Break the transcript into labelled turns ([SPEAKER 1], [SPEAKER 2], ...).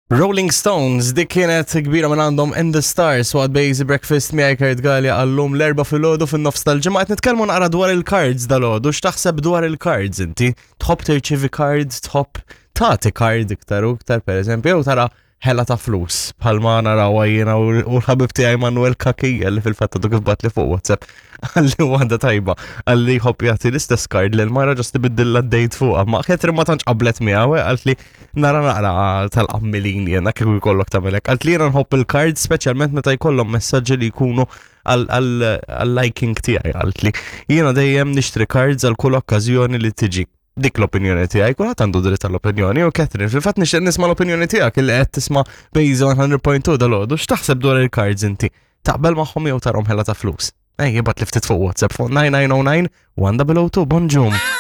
[SPEAKER 1] Rolling Stones, dik kienet kbira minn għandhom In The Stars waqt Basic Breakfast miegħi Kurt Galea għallum l-erba' filgħodu fin-nofs tal-ġimgħa qed nitkellmu naqra dwar il-cards dal-għodu. X'taħseb dwar il-cards inti? Tħobb tirċievi cards, tħobb tagħti card iktar u iktar pereżempju, jew tara ħela ta' flus bħalma narawha jiena u l-ħabib tiegħi Manuel Kakija li fil-fatt għadu kif bagħatli fuq WhatsApp għalli waħda tajba għalli jħobb jagħti l-istess card lil mara ġast ibiddilha d-date fuqha. Ma Catherine ma tantx qablet miegħu eh, qalt li nara naqra tal-qammilin jiena kieku jkollok tagħmel hekk. Qalt li jiena nħobb il-cards speċjalment meta jkollhom messaġġi li jkunu għal-liking tiegħi qalt li jiena dejjem nixtri cards għal kull okkażjoni li tiġi. Dik l-opinjoni tiegħi, kulħadd għandu dritt għall-opinjoni u Catherine, fil-fatt nixtieq nisma' l-opinjoni tiegħek illi qed tisma' Base 100.2 dal-għodu, x'taħseb dwar il-cards inti? Taqbel magħhom jew tarhom ħela ta' flus? Ej, jibgħat li ftit fuq WhatsApp fuq 9909 1002, bonġum.